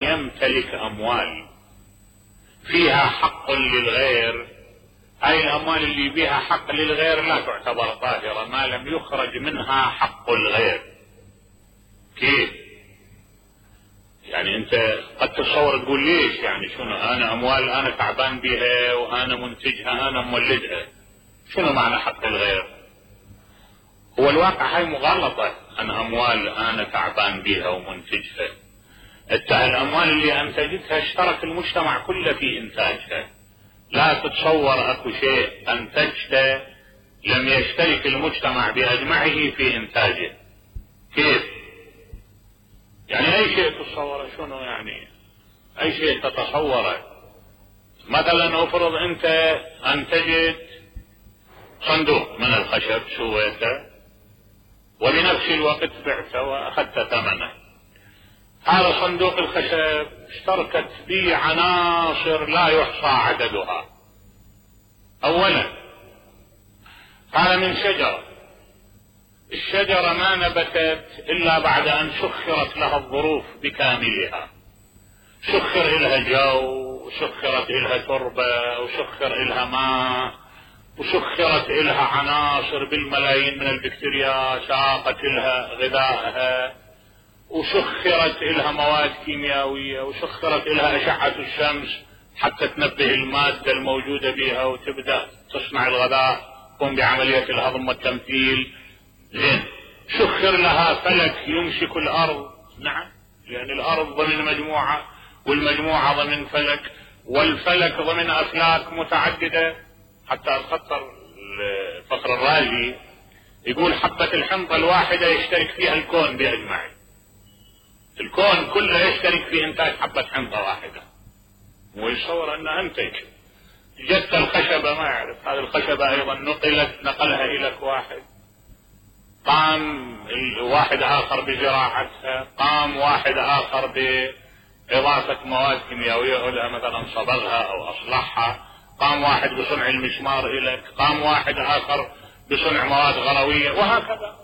يمتلك أموال فيها حق للغير، هاي الأموال اللي بها حق للغير لا تعتبر طاهرة ما لم يخرج منها حق الغير. كيف؟ يعني أنت قد تتصور تقول ليش، يعني شنو أنا أموال أنا تعبان بها وأنا منتجها أنا مولدها، شنو معنى حق الغير؟ هو الواقع هاي مغالطة، أن أموال أنا تعبان بها ومنتجها. الأموال اللي أنتجتها اشترك المجتمع كله في إنتاجها، لا تتصور أكو شيء أنتجته لم يشترك المجتمع بأجمعه في إنتاجه. كيف؟ يعني أي شيء تتصوره، شنو يعني أي شيء تتصوره؟ مثلا افرض أنت أنتجت صندوق من الخشب سويته وبنفس الوقت بعته وأخذت ثمنه، هذا صندوق الخشب اشتركت به عناصر لا يحصى عددها. اولا هذا من شجرة، الشجرة ما نبتت الا بعد ان سخرت لها الظروف بكاملها، سخر لها جو وسخرت لها تربة وسخر لها ماء وسخرت لها عناصر بالملايين من البكتيريا ساقت لها غذائها، وسخرت لها مواد كيميائية وسخرت لها أشعة الشمس حتى تنبه المادة الموجودة بها وتبدأ تصنع الغذاء، تقوم بعملية الهضم والتمثيل. زين، سخر لها فلك يمسك الأرض، نعم، لأن الأرض ضمن مجموعة والمجموعة ضمن فلك والفلك ضمن أفلاك متعددة. حتى الفخر الرازي يقول حبة الحنطة الواحدة يشترك فيها الكون بأجمعه، الكون كله يشترك في انتاج حبة حنطة واحدة، ويصور ان انتج. جت الخشبة ما يعرف، هذه الخشبة ايضا نقلها الى واحد، قام واحد اخر بزراعتها، قام واحد اخر باضافة مواد كيميائية لها مثلا صبغها او اصلحها، قام واحد بصنع المسمار اليك، قام واحد اخر بصنع مواد غروية،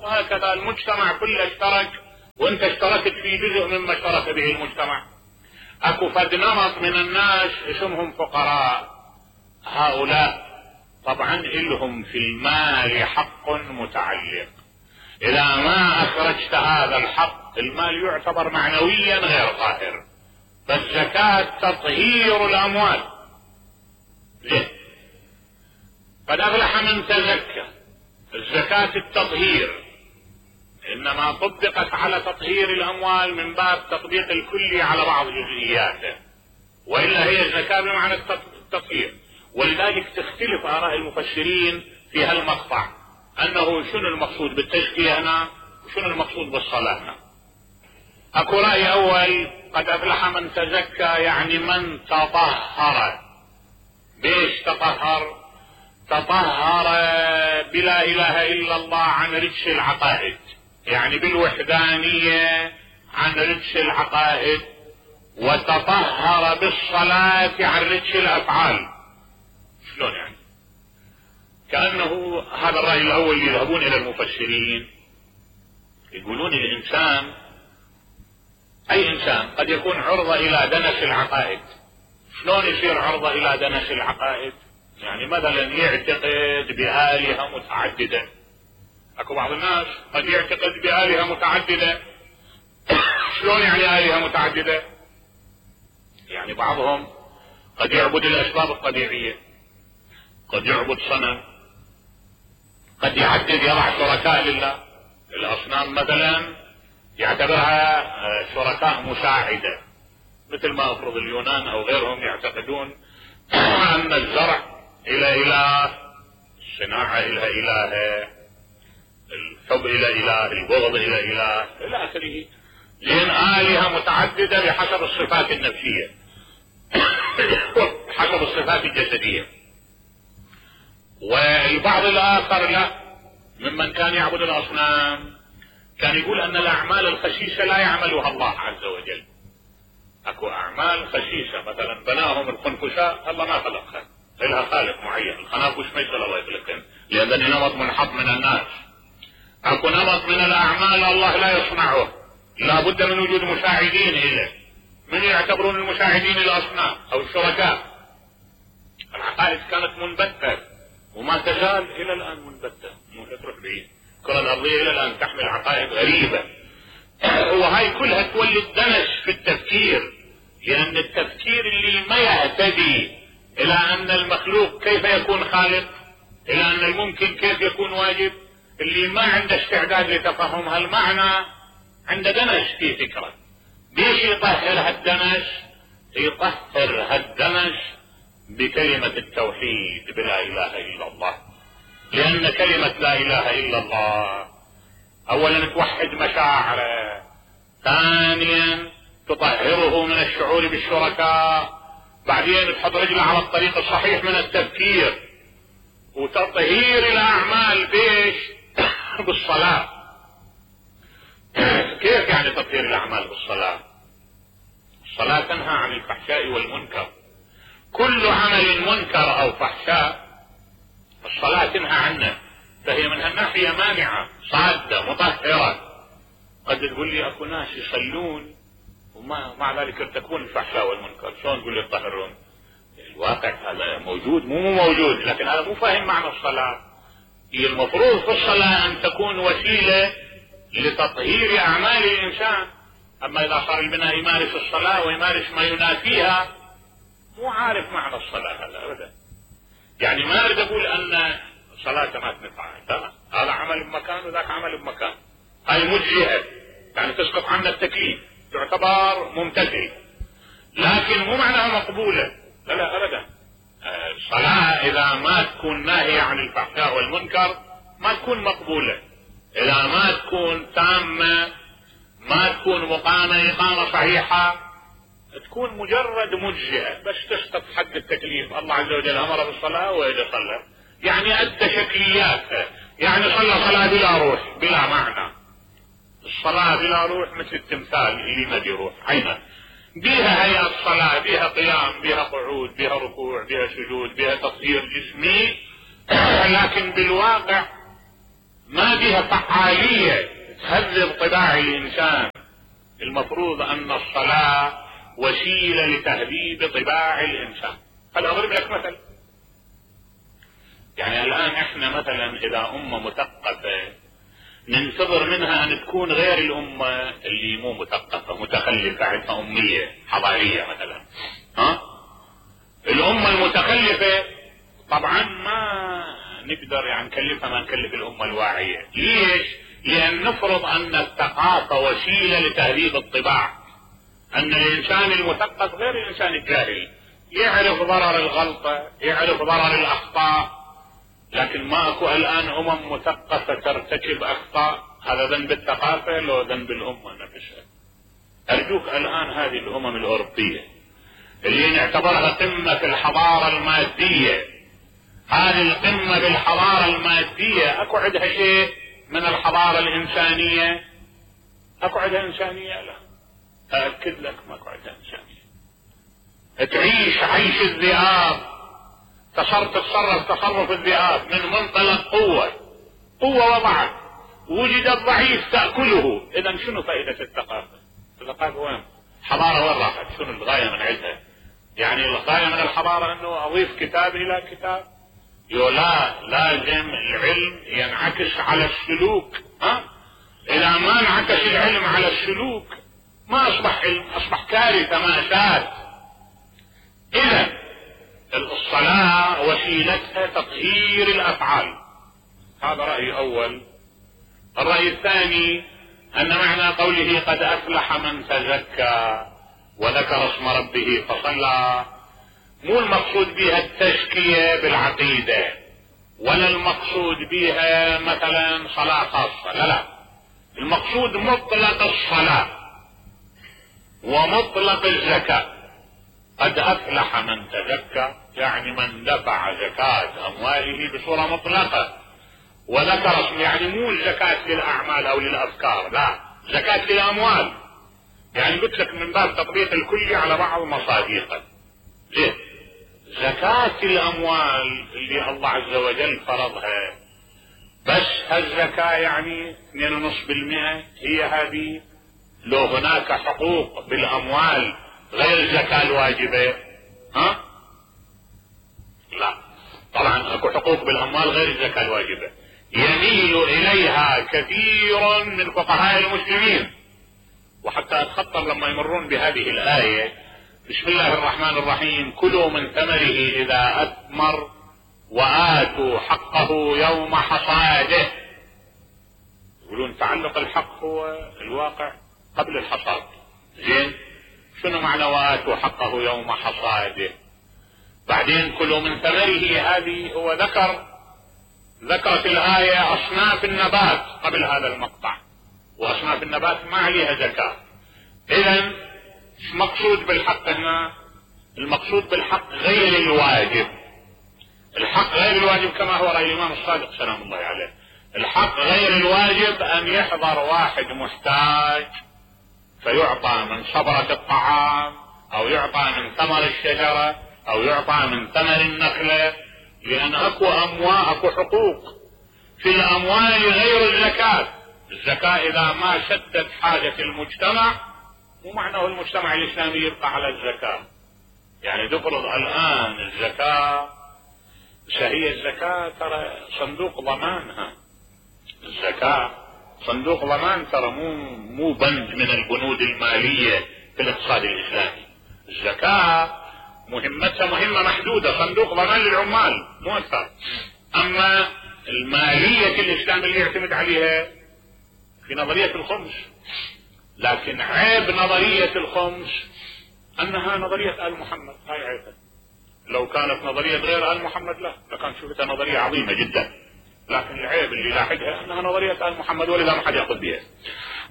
وهكذا المجتمع كله اشترك، وانت اشتركت في جزء مما اشترك به المجتمع. اكو فد نمط من الناس اسمهم فقراء، هؤلاء طبعا لهم في المال حق متعلق، اذا ما اخرجت هذا الحق المال يعتبر معنويا غير طاهر، فالزكاة تطهير الاموال. ليه؟ قد افلح من تزكى، الزكاة التطهير انما طبقت على تطهير الاموال من باب تطبيق الكلي على بعض جزئياته، والا هي الزكاة بمعنى التطهير. ولذلك تختلف اراء المفسرين في هالمقطع، انه شنو المقصود بالتزكية هنا وشنو المقصود بالصلاة هنا. اكو رأي اول قد افلح من تزكى يعني من تطهر. بيش تطهر؟ تطهر بلا اله الا الله عن رجس العقائد، يعني بالوحدانية عن رجس العقائد، وتطهر بالصلاة عن رجس الافعال. شلون يعني؟ كأنه هذا الرأي الاول يذهبون الى المفسرين يقولون الانسان، اي انسان قد يكون عرضة الى دنس العقائد. شلون يصير عرضة الى دنس العقائد؟ يعني مثلا يعتقد بآلهة متعددة. اكو بعض الناس قد يعتقد بآلهة متعددة. شلون يعني آلهة متعددة؟ يعني بعضهم قد يعبد الاسباب الطبيعية، قد يعبد صنم، قد يحدد يضع شركاء لله. الاصنام مثلا يعتبرها شركاء مساعدة، مثل ما افرض اليونان او غيرهم يعتقدون ان الزرع الى اله، الصناعة الى اله، الحب الى اله، البغض الى اله الى اخره. لان آلهة متعددة بحسب الصفات النفسية حسب الصفات الجسدية. والبعض الاخر لا، ممن كان يعبد الاصنام كان يقول ان الاعمال الخسيسة لا يعملها الله عز وجل. اكو اعمال خسيسة مثلا بناهم الخنفساء الله ما خلقها، لها خالق معين. الخنافس ما يصير الله يخلقهن لان نمط منحط من الناس. اكو نمط من الاعمال الله لا يصنعه، لا بد من وجود مساعدين له. من يعتبرون المساعدين الأصنام أو الشركاء. العقائد كانت منبتة وما تزال إلى الآن منبتة، مو تروح بعيد. الكرة الأرضية إلى الآن تحمل عقائد غريبة، وهاي كلها تولد دنس في التفكير، لأن التفكير اللي ما يهتدي إلى أن المخلوق كيف يكون خالق، إلى أن الممكن كيف يكون واجب، اللي ما عنده استعداد لتفهم هالمعنى عنده دنس في فكرة. ليش يطهر هالدنس؟ يطهر هالدنس بكلمة التوحيد بلا إله إلا الله، لأن كلمة لا إله إلا الله أولا توحد مشاعره، ثانيا تطهره من الشعور بالشركاء، بعدين تحط رجله على الطريق الصحيح من التفكير، وتطهير الأعمال بيش بالصلاة. كيف يعني تطهير الأعمال بالصلاة؟ الصلاة تنهى عن الفحشاء والمنكر، كل عمل منكر أو فحشاء الصلاة تنهى عنه، فهي من هالناحية مانعة صادة مطهرة. قد تقول لي اكو ناس يصلون وما مع ذلك يرتكبون الفحشاء والمنكر، شلون تقول لي يطهرون؟ الواقع هذا موجود مو موجود، لكن هذا مو فاهم معنى الصلاة. هي المفروض في الصلاة ان تكون وسيلة لتطهير اعمال الانسان، اما اذا صار البناء يمارس الصلاة ويمارس ما ينافيها مو عارف معنى الصلاة هذا ابدا. يعني ما اريد اقول ان صلاة ما تنفع، لا، هذا عمل بمكان وذاك عمل بمكان، هاي مجزئة يعني تسقط عنا التكليف، تعتبر ممتثل، لكن مو معناها مقبولة، لا لا ابدا. الصلاة اذا ما تكون ناهية عن الفحشاء والمنكر ما تكون مقبولة، اذا ما تكون تامة، ما تكون مقامة اقامة صحيحة، تكون مجرد مجزئة بس تسقط حد التكليف. الله عز وجل امر بالصلاة واذا صلى يعني ادى شكليات، يعني صلى صلاة بلا روح بلا معنى. الصلاة بلا روح مثل التمثال اللي ما بيروح عينه، بيها هيئة الصلاة، بيها قيام، بيها قعود، بيها ركوع، بيها سجود، بيها تطهير جسمي، لكن بالواقع ما بيها فعالية تهذب طباع الإنسان. المفروض أن الصلاة وسيلة لتهذيب طباع الإنسان. هل أضرب لك مثل؟ يعني الآن احنا مثلا إذا أمة مثقفة ننتظر منها أن تكون غير الأمة اللي مو مثقفة متخلفة عندها أمية حضارية مثلا. الأمة المتخلفة طبعا ما نقدر يعني نكلفها ما نكلف الأمة الواعية. ليش؟ لأن نفرض أن الثقافة وسيلة لتهذيب الطباع، أن الإنسان المثقف غير الإنسان الجاهل، يعرف ضرر الغلطة، يعرف ضرر الأخطاء، لكن ماكو الآن مثقفة ترتكب أخطاء. هذا ذنب الثقافة لو ذنب الأمة نفسها. أرجوك الآن هذه الأمم الأوروبية اللي نعتبرها قمة في الحضارة المادية، هذه القمة بالحضارة المادية، أكو عندها شيء من الحضارة الإنسانية؟ أكو عندها إنسانية؟ لا، أأكد لك ماكو عندها إنسانية. تعيش عيش الذئاب، تتصرف تصرف الذئاب من منطلق قوة وضعف، وجد الضعيف تأكله. إذا شنو فائدة الثقافة؟ الثقافة وين؟ حضارة وين راحت؟ شنو الغاية من عندها؟ يعني الغاية من الحضارة انه اضيف كتاب الى كتاب؟ لا، لازم العلم ينعكس على السلوك. اذا ما انعكس العلم على السلوك ما اصبح علم، اصبح كارثة مأساة. اذا الصلاة وسيلتها تطهير الافعال، هذا رأي اول. الرأي الثاني ان معنى قوله قد افلح من تزكى وذكر اسم ربه فصلى، مو المقصود بها التزكية بالعقيدة، ولا المقصود بها مثلا صلاة خاصة، لا، المقصود مطلق الصلاة ومطلق الزكاة. قد افلح من تزكى يعني من دفع زكاة امواله بصورة مطلقة، وذكر اسم يعني مو الزكاة للاعمال او للافكار، لا، زكاة للاموال. يعني قلت لك من باب تطبيق الكلي على بعض مصادقه. زين، زكاة الاموال اللي الله عز وجل فرضها، بس هالزكاة يعني 2.5% هي هذه؟ لو هناك حقوق بالاموال غير الزكاة الواجبة؟ ها؟ لا، طبعا اكو حقوق بالاموال غير الزكاة الواجبة يميل اليها كثير من فقهاء المسلمين، وحتى اتخطر لما يمرون بهذه الآية: بسم الله الرحمن الرحيم، كلوا من ثمره اذا اثمر وآتوا حقه يوم حصاده. يقولون تعلق الحق هو الواقع قبل الحصاد. زين، شنو معنى وآتوا حقه يوم حصاده؟ بعدين كلوا من ثمره، هذه هو ذكرت الآية أصناف النبات قبل هذا المقطع، وأصناف النبات ما عليها زكاة. إذن المقصود بالحق هنا، المقصود بالحق غير الواجب. الحق غير الواجب كما هو رأي الإمام الصادق سلام الله عليه. الحق غير الواجب أن يحضر واحد محتاج فيعطى من صبرة الطعام، أو يعطى من ثمر الشجرة، أو يعطى من ثمر النخلة، لأن أكو حقوق في الأموال غير الزكاة. الزكاة إذا ما سدت حاجة المجتمع، مو معناه المجتمع الإسلامي يبقى على الزكاة. يعني تفرض الآن الزكاة، هي الزكاة ترى صندوق ضمانها، الزكاة صندوق ضمان، ترى مو بند من البنود المالية في الاقتصاد الإسلامي. الزكاة مهمتها مهمة محدودة، صندوق ضمان للعمال مو أكثر. أما المالية الإسلام اللي يعتمد عليها في نظرية الخمس، لكن عيب نظرية الخمس أنها نظرية آل محمد، هاي عيبها. لو كانت نظرية غير آل محمد لا، لكان شفتها نظرية عظيمة جدا، لكن العيب اللي لاحقها أنها نظرية آل محمد، ولذا ما حد يأخذ بها.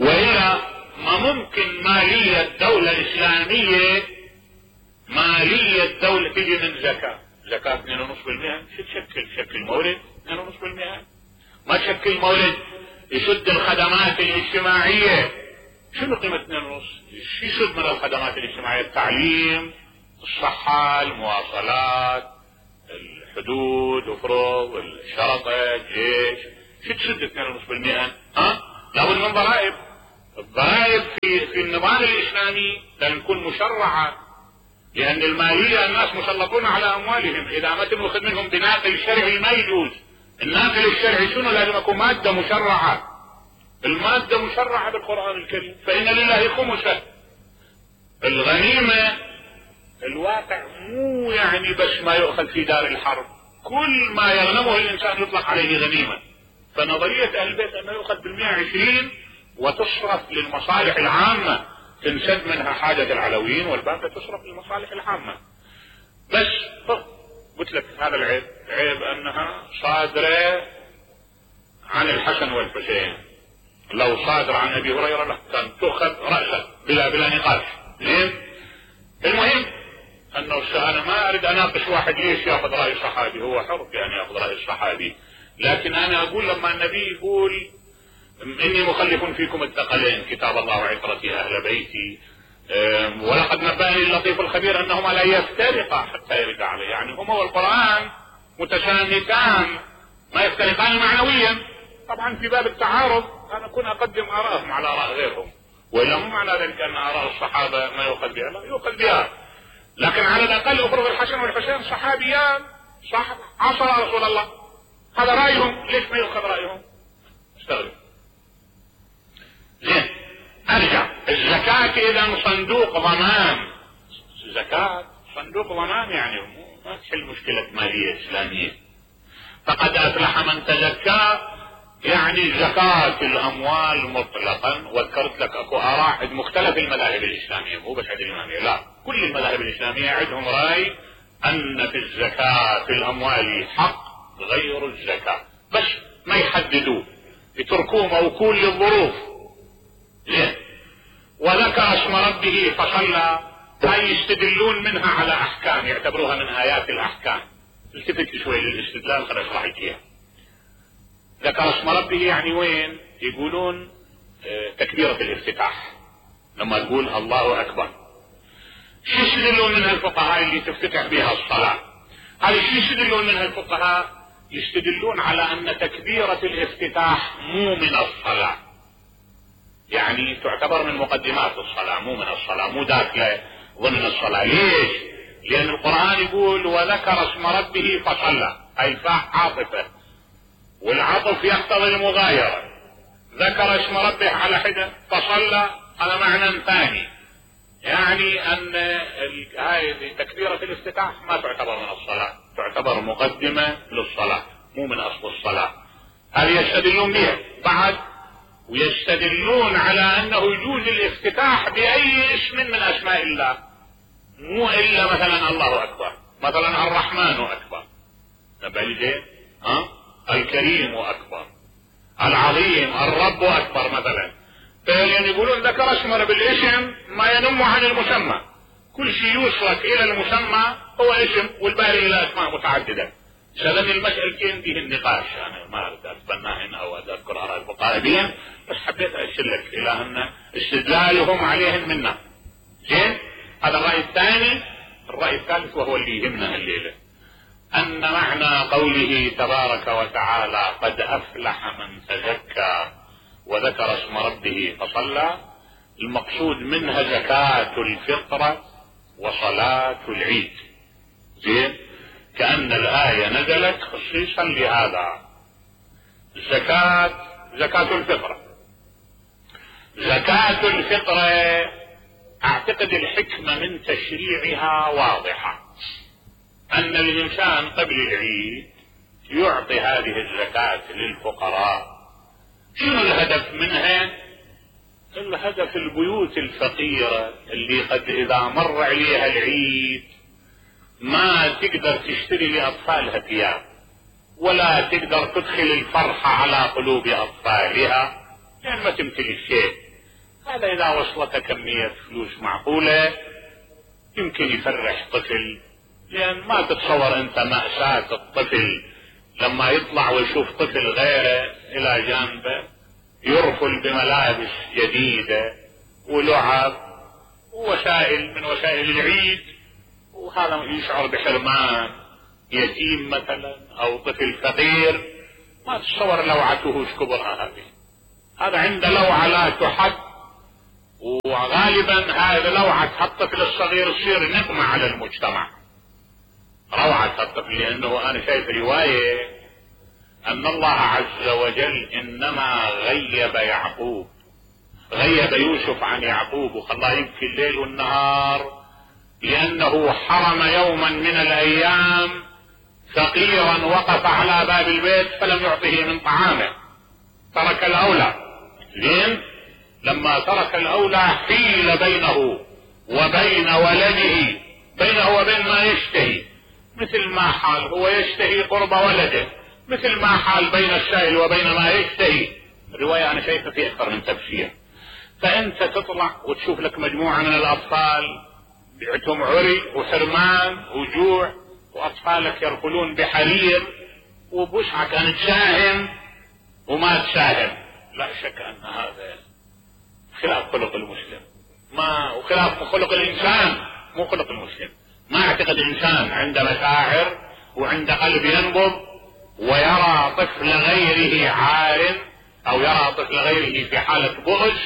وإلا ما ممكن مالية الدولة الإسلامية، مالية دولة تجي من زكاة 2.5%. شو تشكل مورد 2.5%؟ ما تشكل مورد يسد الخدمات الاجتماعية. شنو قيمة 2.5؟ شو يسد من الخدمات الاجتماعية؟ التعليم، الصحة، المواصلات، الحدود، افرض الشرطة، الجيش. شو تسد 2.5%؟ لابد من ضرائب. الضرائب في النظام الإسلامي لازم تكون مشرعة، لأن المالية الناس مسلطون على أموالهم، إذا ما تنوخذ منهم بناقل شرعي ما يجوز. الناقل الشرعي شنو؟ لازم يكون مادة مشرعة. المادة مشرعة بالقرآن الكريم، فإن لله خمسه. الغنيمة الواقع مو يعني بس ما يؤخذ في دار الحرب، كل ما يغنمه الإنسان يطلق عليه غنيمة. فنظرية أهل البيت أنه يؤخذ بال120 وتصرف للمصالح العامة، تنسد منها حاجة العلويين والباقي تصرف للمصالح العامة. بس قلت لك هذا العيب، عيب أنها صادرة عن الحسن والحسين. لو صادر عن أبي هريرة لا، كان تؤخذ رأسا بلا نقاش. زين، المهم أنه أنا ما أريد أناقش واحد ليش يأخذ رأي الصحابي، هو حر بأن يأخذ رأي الصحابي، لكن أنا أقول لما النبي يقول إني مخلف فيكم الثقلين كتاب الله وعترتي أهل بيتي، ولقد نبأني اللطيف الخبير أنهما لا يفترقا حتى يرد عليه، يعني هما والقرآن متساندان ما يفترقان معنويا. طبعا في باب التعارض أنا أكون أقدم آراءهم على آراء غيرهم، وإلا مو معنى ذلك أن آراء الصحابة ما يؤخذ بها، لا يؤخذ بها، لكن على الأقل أفرض الحسن والحسين صحابيان صاحب عصر رسول الله، هذا رأيهم، ليش ما يؤخذ رأيهم؟ استغرب. زين، ارجع. الزكاة اذا صندوق ضمان، الزكاة صندوق ضمان، يعني ما تحل مشكلة مالية اسلامية. فقد افلح من تزكى، يعني زكاة الاموال مطلقا. وذكرت لك اكو اراء عند مختلف المذاهب الاسلامية، مو بس عند الامامية، لا، كل المذاهب الاسلامية عندهم راي ان في الزكاة في الاموال حق غير الزكاة، بس ما يحددوه، يتركوه موكول للظروف. زين، وذكر اسم ربه فصلى، هاي يستدلون منها على احكام، يعتبروها من ايات الاحكام. التفت شوي للاستدلال خليني اشرح لك اياه. ذكر اسم ربه يعني وين؟ يقولون تكبيرة الافتتاح، لما تقول الله اكبر. شو يستدلون منها الفقهاء اللي تفتتح بها الصلاة؟ هذه شو يستدلون منها الفقهاء؟ يستدلون على ان تكبيرة الافتتاح مو من الصلاة، يعني تعتبر من مقدمات الصلاة، مو من الصلاة، مو داخلة ضمن الصلاة. ليش؟ لأن القرآن يقول وذكر اسم ربه فصلى، أي فاء عاطفة، والعطف يقتضي المغايرة. ذكر اسم ربه على حدة، فصلى هذا معنى ثاني، يعني أن هذه تكبيرة الافتتاح ما تعتبر من الصلاة، تعتبر مقدمة للصلاة مو من أصل الصلاة. هذه يستدلون بها بعد، ويستدلون على أنه يجوز الافتتاح بأي اسم من أسماء الله، مو إلا مثلا الله أكبر، مثلا الرحمن أكبر، الكريم أكبر، العظيم، الرب أكبر مثلا. يعني يقولون ذكر اسمه بالاسم ما ينم عن المسمى، كل شيء يوصلك إلى المسمى هو اسم، والباقي إلى أسماء متعددة. سلم المسألتين فيه النقاش، أنا ما أريد أتبنى هنا أو أذكر آراء الفقهاء بهم، بس حبيت أشلك إلى أن استدلالهم عليهم منا. زين، هذا الرأي الثاني. الرأي الثالث وهو اللي يهمنا الليلة، أن معنى قوله تبارك وتعالى قد أفلح من تزكى وذكر اسم ربه فصلى، المقصود منها زكاة الفطرة وصلاة العيد. زين، كأن الآية نزلت خصيصا لهذا. زكاة الفطرة. زكاة الفطرة أعتقد الحكمة من تشريعها واضحة، أن الإنسان قبل العيد يعطي هذه الزكاة للفقراء. شنو الهدف منها؟ الهدف البيوت الفقيرة اللي قد إذا مر عليها العيد ما تقدر تشتري لأطفالها ثياب، ولا تقدر تدخل الفرحة على قلوب أطفالها لأن ما تمتلك شيء. هذا إذا وصلت كمية فلوس معقولة يمكن يفرح طفل، لأن ما تتصور أنت مأساة الطفل لما يطلع ويشوف طفل غيره إلى جانبه يرفل بملابس جديدة ولعب ووسائل من وسائل العيد، وهذا يشعر بحرمان. يتيم مثلا أو طفل فقير ما تتصور لوعته ايش كبرها هذه. هذا عنده لوعة لا تحد، وغالبا هذه لوعة الطفل الصغير تصير نقمة على المجتمع. روعة الطفل، لأنه أنا شايف رواية أن الله عز وجل إنما غيب يوسف عن يعقوب وخلاه يبكي الليل والنهار، لأنه حرم يوما من الأيام فقيرا وقف على باب البيت فلم يعطه من طعامه، ترك الأولى. زين، لما ترك الأولى حيل بينه وبين ولده، بينه وبين ما يشتهي، مثل ما حال هو يشتهي قرب ولده، مثل ما حال بين السائل وبين ما يشتهي. الرواية أنا شايفها في أكثر من تفسير. فأنت تطلع وتشوف لك مجموعة من الأطفال بعتهم عري وحرمان وجوع، وأطفالك يركلون بحرير وبوسعك أن تساهم وما تساهم. لا شك أن هذا خلاف خلق المسلم، وخلاف خلق الإنسان مو خلق المسلم. ما اعتقد الإنسان عنده مشاعر وعنده قلب ينبض ويرى طفل غيره عار أو يرى طفل غيره في حالة بؤس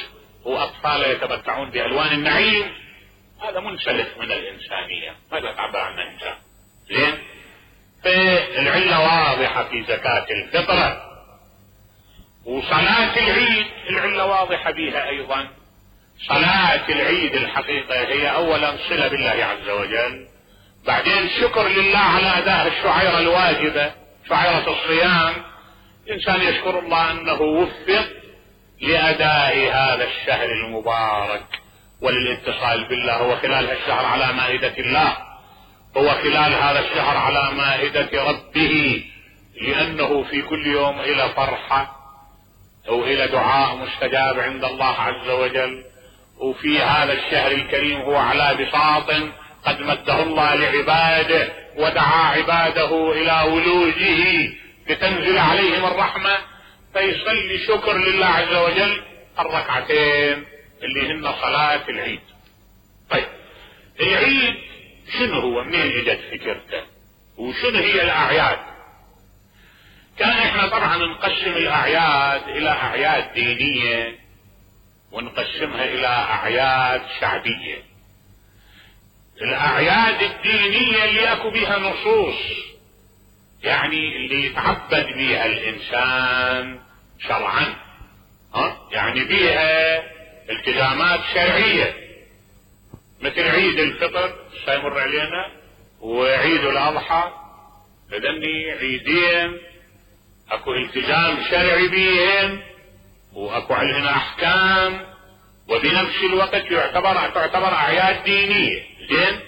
وأطفاله يتمتعون بألوان النعيم. هذا منسلخ من الإنسانية، ماذا تعبر عن الإنسان. زين، فالعلة واضحة في زكاة الفطرة. وصلاة العيد العلة واضحة بها أيضا. صلاة العيد الحقيقة هي أولا صلة بالله عز وجل، بعدين شكر لله على أداء الشعيرة الواجبة، شعيرة الصيام. الإنسان يشكر الله أنه وفق لأداء هذا الشهر المبارك وللاتصال بالله. هو خلال الشهر على مائدة الله، هو خلال هذا الشهر على مائدة ربه، لأنه في كل يوم إلى فرحة أو إلى دعاء مستجاب عند الله عز وجل. وفي هذا الشهر الكريم هو على بساط قد مده الله لعباده، ودعا عباده إلى ولوجه لتنزل عليهم الرحمة، فيصلي شكر لله عز وجل الركعتين اللي هن صلاة العيد. طيب العيد شنو هو؟ منين اجت فكرته؟ وشنو هي الأعياد؟ كان احنا طبعا نقسم الأعياد إلى أعياد دينية ونقسمها إلى أعياد شعبية. الاعياد الدينية اللي اكو بيها نصوص، يعني اللي يتعبد بيها الانسان شرعا، يعني بيها التزامات شرعية، مثل عيد الفطر سيمر علينا وعيد الاضحى، هذني عيدين اكو التزام شرعي بيهم واكو عليهن احكام، وبنفس الوقت تعتبر اعياد دينية. زين،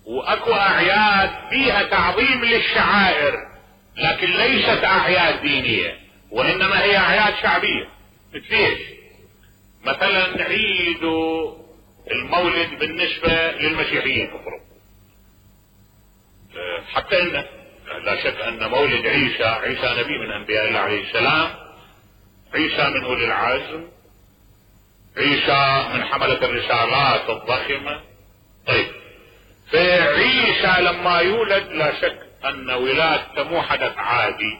واكو اعياد فيها تعظيم للشعائر لكن ليست اعياد دينية وانما هي اعياد شعبية. مثل ايش؟ مثلا عيد المولد بالنسبة للمسيحيين افرض، حتى ان لا شك ان مولد عيسى نبي من انبياء الله عليه السلام، عيسى من اولي العزم، عيسى من حملة الرسالات الضخمة. طيب، فعيسى لما يولد لا شك ان ولادته مو حدث عادي،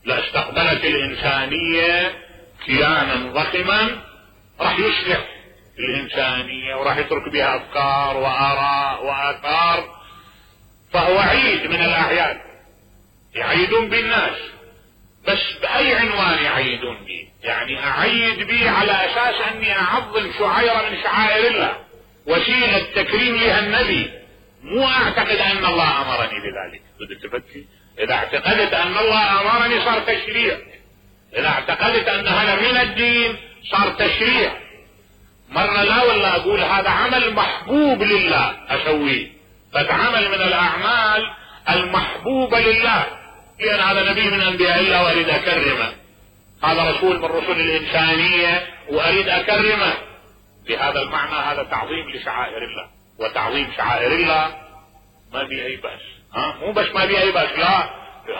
لاستقبلت الانسانية كيانا ضخما راح يصلح الانسانية وراح يترك بها افكار واراء واثار، فهو عيد من الاعياد يعيدون بالناس. بس باي عنوان يعيدون به؟ يعني اعيد به على اساس اني اعظم شعيرة من شعائر الله، وسيلة تكريم لها النبي، مو اعتقد ان الله امرني بذلك. بدك تفكي، اذا اعتقدت ان الله امرني صار تشريع، اذا اعتقدت ان هذا من الدين صار تشريع. مرة لا والله اقول هذا عمل محبوب لله اسويه، فتعمل من الاعمال المحبوبة لله، لان هذا نبي من انبياء الله واريد اكرمه، هذا رسول من رسل الانسانية واريد اكرمه. بهذا المعنى هذا تعظيم لشعائر الله، وتعظيم شعائر الله ما بيه اي بأس. مو بس ما بيه اي بأس، لا،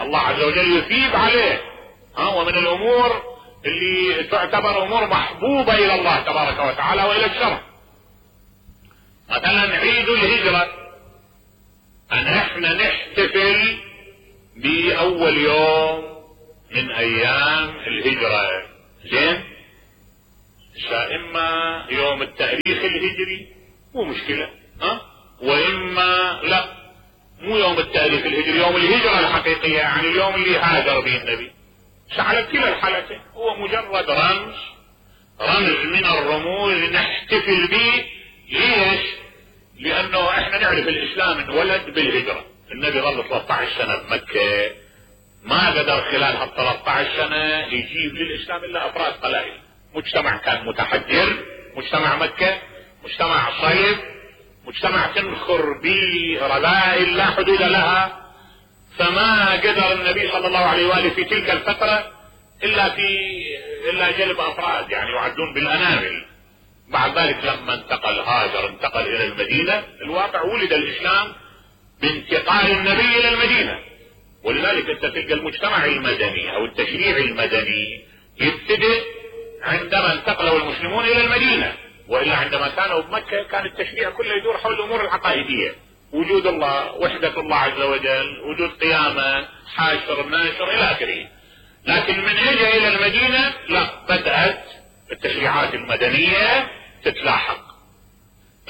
الله عز وجل يثيب عليه. ومن الامور اللي تعتبر امور محبوبة الى الله تبارك وتعالى والى الشرع. مثلا عيد الهجرة، ان احنا نحتفل باول يوم من ايام الهجرة. زين، اما يوم التاريخ الهجري مو مشكلة، واما لا، مو يوم التاريخ الهجري، يوم الهجرة الحقيقية، يعني اليوم اللي هاجر به النبي. على كلا الحالتين هو مجرد رمز من الرموز نحتفل به. ليش؟ لانه احنا نعرف الاسلام انولد بالهجرة، النبي ظل 13 سنة بمكة، ما قدر خلال هال 13 سنة يجيب للاسلام الا افراد قلائل. مجتمع كان متحجر، مجتمع مكة مجتمع صيف، مجتمع تنخر به رذائل لا حدود لها، فما قدر النبي صلى الله عليه وآله في تلك الفترة الا جلب افراد يعني يعدون بالانامل. بعد ذلك لما انتقل الى المدينة، الواقع ولد الاسلام بانتقال النبي الى المدينة. ولذلك انت تلقى المجتمع المدني او التشريع المدني يبتدئ عندما انتقلوا المسلمون الى المدينة، والا عندما كانوا بمكة كان التشريع كله يدور حول الامور العقائدية، وجود الله، وحدة الله عز وجل، وجود قيامة، حاشر، ناشر الى اخره. لكن من اجى الى المدينة لا، بدأت التشريعات المدنية تتلاحق.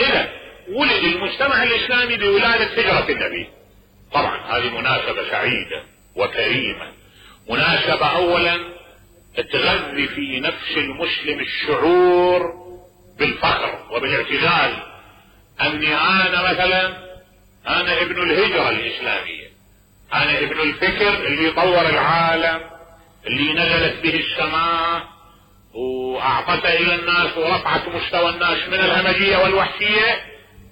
اذا ولد المجتمع الاسلامي بولادة هجرة النبي. طبعا هذه مناسبة سعيدة وكريمة، مناسبة اولا تغذي في نفس المسلم الشعور بالفخر وبالاعتزاز، اني انا مثلا انا ابن الهجرة الاسلامية، انا ابن الفكر اللي طور العالم، اللي نزلت به السماء واعطت الى الناس ورفعت مستوى الناس من الهمجية والوحشية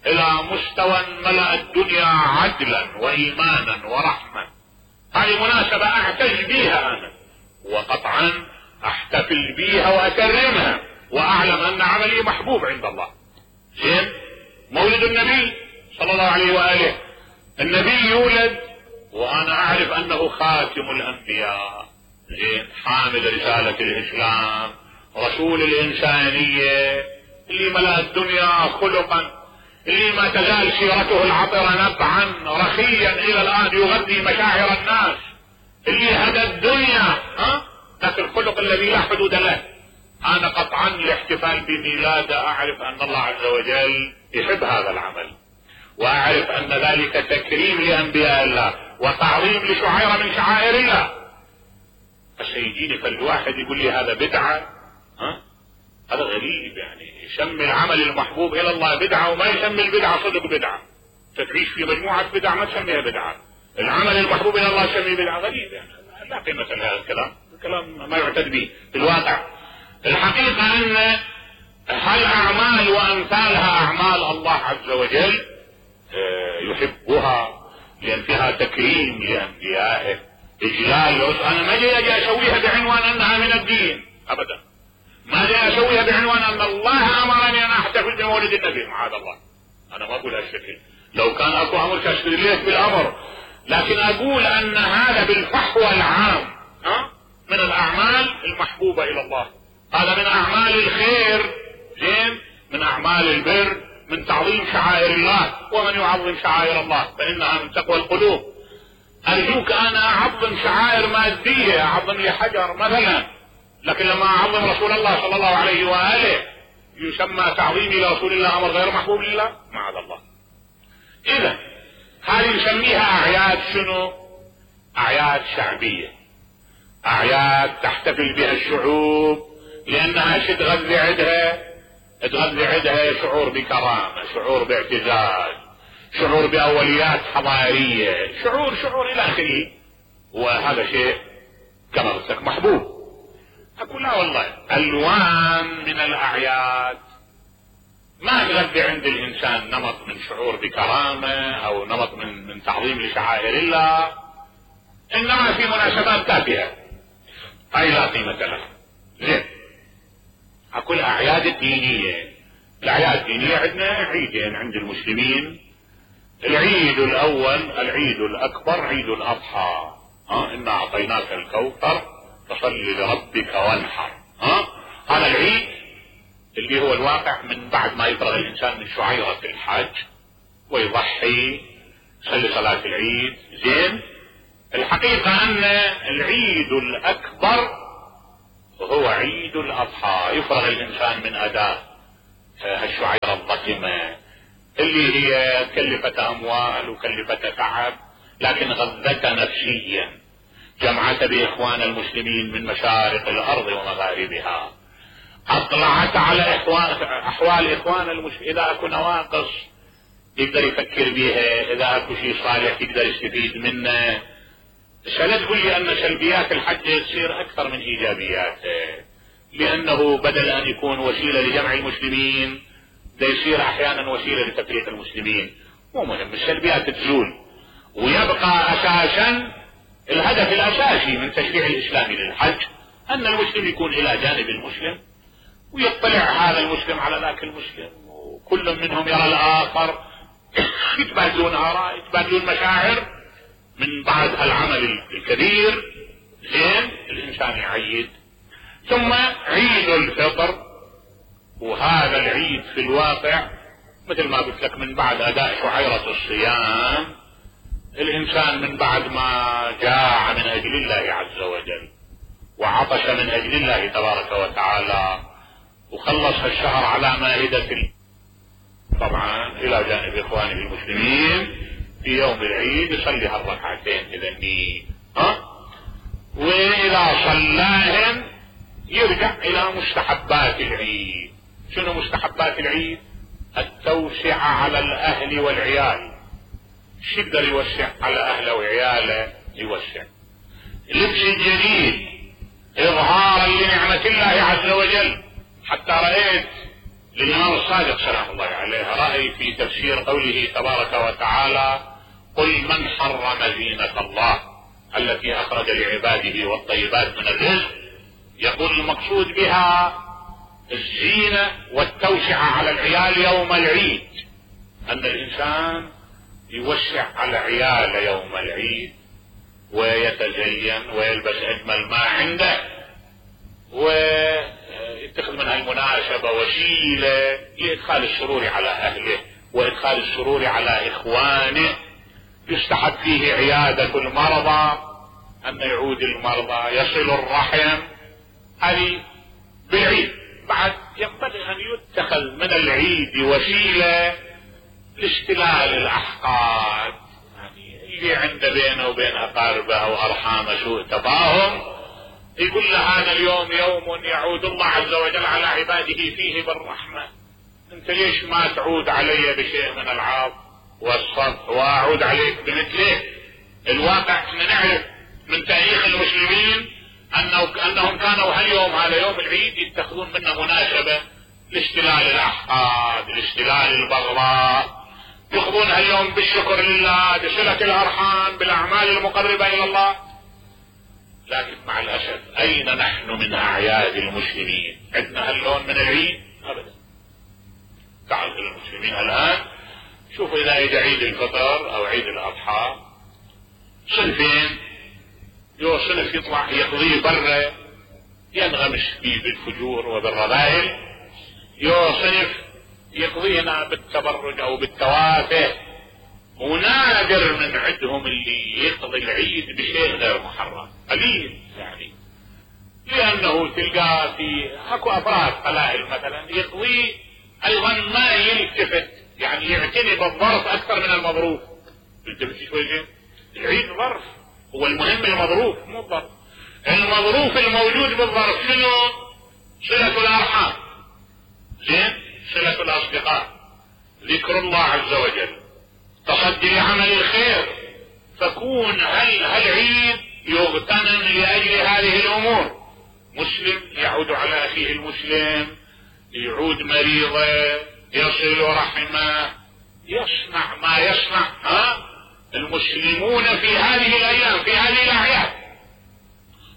الى مستوى ملأ الدنيا عدلا وايمانا ورحمة. هذه مناسبة اعتز بها انا، وقطعا احتفل بها واكرمها، واعلم ان عملي محبوب عند الله. زين، مولد النبي صلى الله عليه وآله، النبي يولد وانا اعرف انه خاتم الانبياء، زين، حامل رسالة الاسلام، رسول الانسانية، اللي ملأ الدنيا خلقا، اللي ما تزال سيرته العطرة نبعا رخيا الى الان يغذي مشاعر الناس، اللي هدى الدنيا، لكن الخلق الذي لا حدود له. انا قطعا الاحتفال بميلاده اعرف ان الله عز وجل يحب هذا العمل، واعرف ان ذلك تكريم لانبياء الله وتعظيم لشعيرة من شعائر الله. بس يجيني فالواحد يقول لي هذا بدعة، هذا غريب. يعني يسمي العمل المحبوب الى الله بدعة وما يسمي البدعة صدق بدعة. تعيش في مجموعة بدع ما تسميها بدعة، العمل المحبوب الى الله تسميه بدعة، غريب. يعني لا قيمة لهذا الكلام ما يعتد به في الواقع. الحقيقة ان هالاعمال وامثالها اعمال الله عز وجل يحبها لان فيها تكريم لانبيائه، اجلال. انا ما جاي اسويها بعنوان انها من الدين ابدا، ما جاي اسويها بعنوان ان الله امرني ان احتفل بمولد النبي، معاذ الله، انا ما اقول هالشكل. لو كان اكو امر تشريعي بالامر، لكن اقول ان هذا بالفحوى العام من الاعمال المحبوبة الى الله، هذا من اعمال الخير، زين، من اعمال البر، من تعظيم شعائر الله. ومن يعظم شعائر الله فانها من تقوى القلوب. ارجوك انا اعظم شعائر مادية، اعظم لي حجر مثلا، لكن لما اعظم رسول الله صلى الله عليه واله يسمى تعظيمي لرسول الله امر غير محبوب لله، معاذ الله. اذا هذه نسميها اعياد شنو؟ اعياد شعبية، اعياد تحتفل بها الشعوب لانها تغذي عندها شعور بكرامة، شعور باعتزاز، شعور باوليات حضارية، شعور الى اخره. وهذا شيء كما قلت لك محبوب. اقول لا والله، الوان من الاعياد ما تغذي عند الانسان نمط من شعور بكرامة او نمط من تعظيم لشعائر الله، انما في مناسبات تافهة اي لا قيمة لها. زين، اقول الاعياد الدينية. الاعياد الدينية عندنا عيدين عند المسلمين. العيد الاول العيد الاكبر عيد الاضحى، انا اعطيناك الكوثر فصل لربك وانحر. هذا العيد اللي هو الواقع من بعد ما يفرغ الانسان من شعيرة الحج ويضحي يصلي صلاة العيد. زين، الحقيقة ان العيد الاكبر هو عيد الاضحى، يفرغ الانسان من اداء الشعيرة الضخمة اللي هي كلفة اموال وكلفة تعب، لكن غذت نفسيا، جمعت باخوان المسلمين من مشارق الارض ومغاربها، اطلعت على احوال اخوان المسلمين. اذا اكو نواقص يقدر يفكر بها، اذا اكو شيء صالح يقدر يستفيد منه. لا تقول لي ان سلبيات الحج تصير اكثر من ايجابياته، لانه بدل ان يكون وسيلة لجمع المسلمين ده يصير احيانا وسيلة لتفريق المسلمين. مو مهم، السلبيات تزول ويبقى اساسا الهدف الاساسي من تشريع الاسلامي للحج ان المسلم يكون الى جانب المسلم ويطلع هذا المسلم على ذاك المسلم، وكل منهم يرى الاخر، يتبادلون اراء، يتبادلون مشاعر من بعد هالعمل الكبير. زين، الانسان يعيد. ثم عيد الفطر، وهذا العيد في الواقع مثل ما قلت لك من بعد اداء شعيرة الصيام، الانسان من بعد ما جاع من اجل الله عز وجل وعطش من اجل الله تبارك وتعالى وخلص الشهر على مائدة طبعا الى جانب اخوانه المسلمين، في يوم العيد يصلي هالركعتين اذا النية، واذا صلاهم يرجع الى مستحبات العيد. شنو مستحبات العيد؟ التوسعة على الاهل والعيال. شو يقدر يوسع على اهله وعياله؟ يوسع لبس الجديد اظهارا لنعمة الله عز وجل. حتى رأيت للامام الصادق سلام الله عليه رأي في تفسير قوله تبارك وتعالى: قل من حرم زينة الله التي اخرج لعباده والطيبات من الرزق. يقول المقصود بها الزينة والتوسعة على العيال يوم العيد، ان الانسان يوسع على عياله يوم العيد ويتزين ويلبس اجمل ما عنده ويتخذ منها المناسبة وسيلة لادخال السرور على اهله وادخال السرور على اخوانه. يستحب فيه عيادة المرضى، ان يعود المرضى، يصل الرحم، هذه بالعيد. بعد ينبغي ان يتخذ من العيد وسيلة اشتلال الأحقاد، يعني اللي عنده بينه وبين أقاربه أو أرحامه سوء تفاهم يقول له هذا اليوم يوم يعود الله عز وجل على عباده فيه بالرحمة، انت ليش ما تعود علي بشيء من العطف والصفح واعود عليك بمثله؟ الواقع احنا نعرف من تاريخ المسلمين انهم كانوا هاليوم هذا يوم العيد يتخذون منه مناسبة لاشتلال الاحقاد، لاشتلال البغضاء، يأخذون هاليوم بالشكر لله، بصلة الارحام، بالاعمال المقربة الى الله. لكن مع الاسف اين نحن من اعياد المسلمين؟ عندنا هاللون من العيد؟ ابدا. تعرف المسلمين الان شوفوا اذا يجي عيد الفطر او عيد الاضحى صنفين، صنف يطلع يقضيه برا ينغمس فيه بالفجور وبالرذائل، صنف يقضينا بالتبرج او بالتوافه، ونادر من عندهم اللي يقضي العيد بشيء غير محرم، قليل يعني. لانه تلقى في اكو افراد قلائل مثلا يقضي ايضا ما يلتفت، يعني يعتني بالظرف اكثر من المظروف. التفت شوي، العيد ظرف، هو المهم المظروف مو الظرف. المظروف الموجود بالظرف شنو؟ صلة الارحام، زين، صلة الاصدقاء، ذكر الله عز وجل، تصدي لعمل الخير. فكون هالعيد يغتنم لاجل هذه الامور. مسلم يعود على اخيه المسلم، يعود مريضه، يصل رحمه، يصنع ما يصنع المسلمون في هذه الايام، في هذه الاعياد.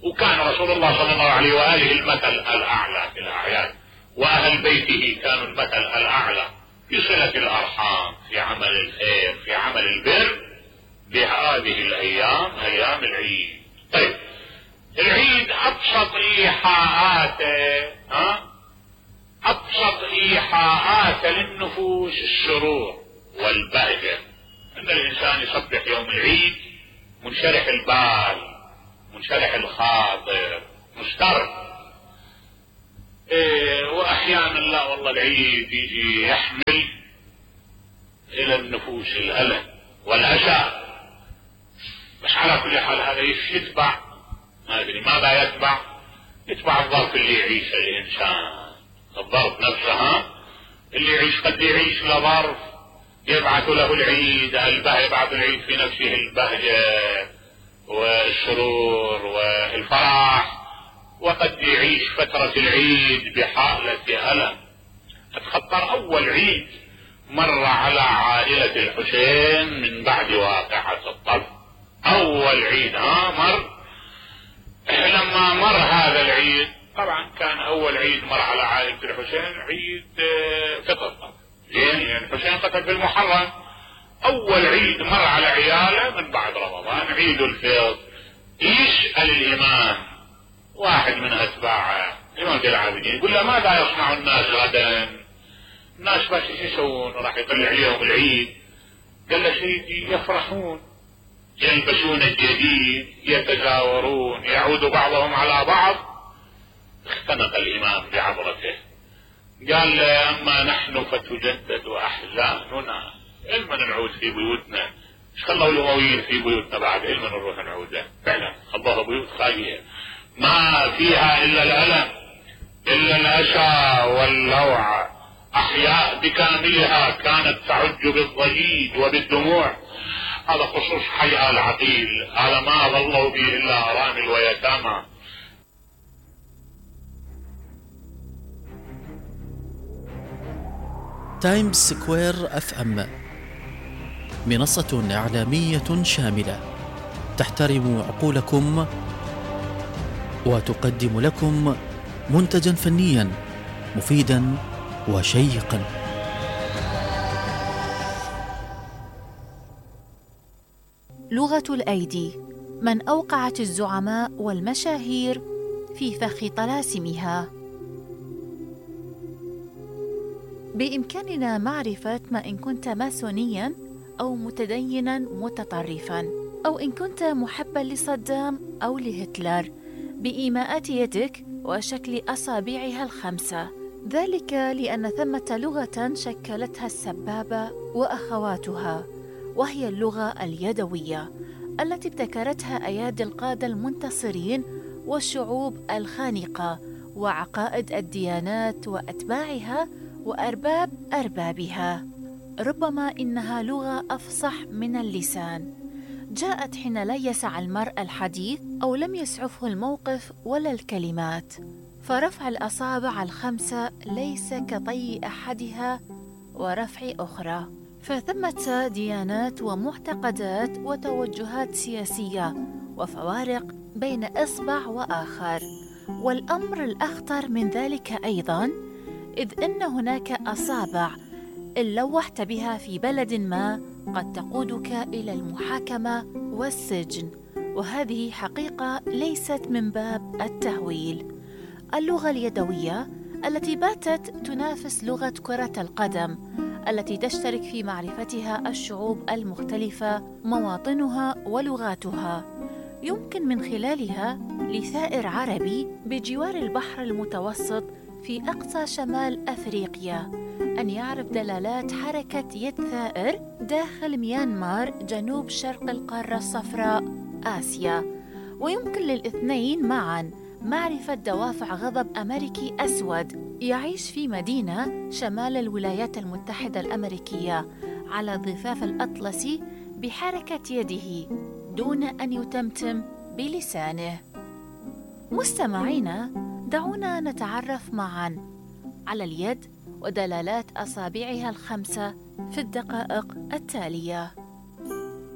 وكان رسول الله صلى الله عليه واله المثل الاعلى في الاعياد، واهل بيته كانوا المثل الاعلى في صلة الارحام، في عمل الخير، في عمل البر بهذه الايام، ايام العيد. طيب العيد ابسط ايحاءاته ابسط ايحاءاته للنفوس السرور والبهجة، ان الانسان يصبح يوم العيد منشرح البال، منشرح الخاطر، مسترد. واحيانا لا والله العيد يجي يحمل الى النفوس الالم والاسى، بس على كل حال هذا يتبع، ما ادري ماذا يتبع الظرف اللي يعيشه الانسان، الظرف نفسه اللي يعيش قد يعيش لظرف يبعث له العيد، يبعث العيد في نفسه البهجة والسرور والفرح، وقد يعيش فترة العيد بحالة ألم. اتخطر أول عيد مر على عائلة الحسين من بعد واقعة الطف، أول عيد مر. لما مر هذا العيد طبعا كان أول عيد مر على عائلة الحسين عيد فطر، زين، يعني الحسين قتل في المحرم. أول عيد مر على عياله من بعد رمضان عيد الفطر. يسأل الإمام واحد من أتباعه الإمام العابدين، يقول له ماذا يصنع الناس غدا؟ الناس بس يسوون؟ راح يطلع عليهم العيد. قال له سيدي يفرحون، يلبسون الجديد، يتزاورون، يعود بعضهم على بعض. اختنق الإمام بعبرته، قال له أما نحن فتجدد أحزاننا، إلما نعود في بيوتنا، ايش خلوا الأمويين في بيوتنا بعد؟ إلما نروح نعود. فعلا خلوها بيوت خالية ما فيها إلا الألم، إلا الأسى واللوع. أحياء بكاملها كانت تعج بالضجيج وبالدموع. هذا خصوص حي آل عقيل، هذا ما ظلوا به إلا أرامل ويتامى. تايمز سكوير FM منصة إعلامية شاملة تحترم عقولكم وتقدم لكم منتجا فنيا مفيدا وشيقا. لغة الأيدي، من أوقعت الزعماء والمشاهير في فخ طلاسمها. بإمكاننا معرفة ما إن كنت ماسونياً أو متديناً متطرفاً، أو إن كنت محباً لصدام أو لهتلر، بإيماءات يدك وشكل أصابعها الخمسة ذلك لأن ثمة لغة شكلتها السبابة وأخواتها، وهي اللغة اليدوية التي ابتكرتها أيادي القادة المنتصرين والشعوب الخانقة وعقائد الديانات وأتباعها وأرباب أربابها. ربما إنها لغة أفصح من اللسان، جاءت حين لا يسع المرء الحديث أو لم يسعفه الموقف ولا الكلمات، فرفع الأصابع الخمسة ليس كطي أحدها ورفع أخرى. فثمة ديانات ومعتقدات وتوجهات سياسية وفوارق بين إصبع وآخر. والأمر الأخطر من ذلك أيضاً إذ أن هناك أصابع إن لوحت بها في بلد ما قد تقودك إلى المحاكمة والسجن، وهذه حقيقة ليست من باب التهويل. اللغة اليدوية التي باتت تنافس لغة كرة القدم التي تشترك في معرفتها الشعوب المختلفة مواطنها ولغاتها، يمكن من خلالها لثائر عربي بجوار البحر المتوسط في أقصى شمال أفريقيا أن يعرف دلالات حركة يد ثائر داخل ميانمار جنوب شرق القارة الصفراء آسيا. ويمكن للاثنين معاً معرفة دوافع غضب أمريكي أسود يعيش في مدينة شمال الولايات المتحدة الأمريكية على الضفاف الأطلسي بحركة يده دون أن يتمتم بلسانه. مستمعينا، دعونا نتعرف معاً على اليد ودلالات أصابعها الخمسة في الدقائق التالية.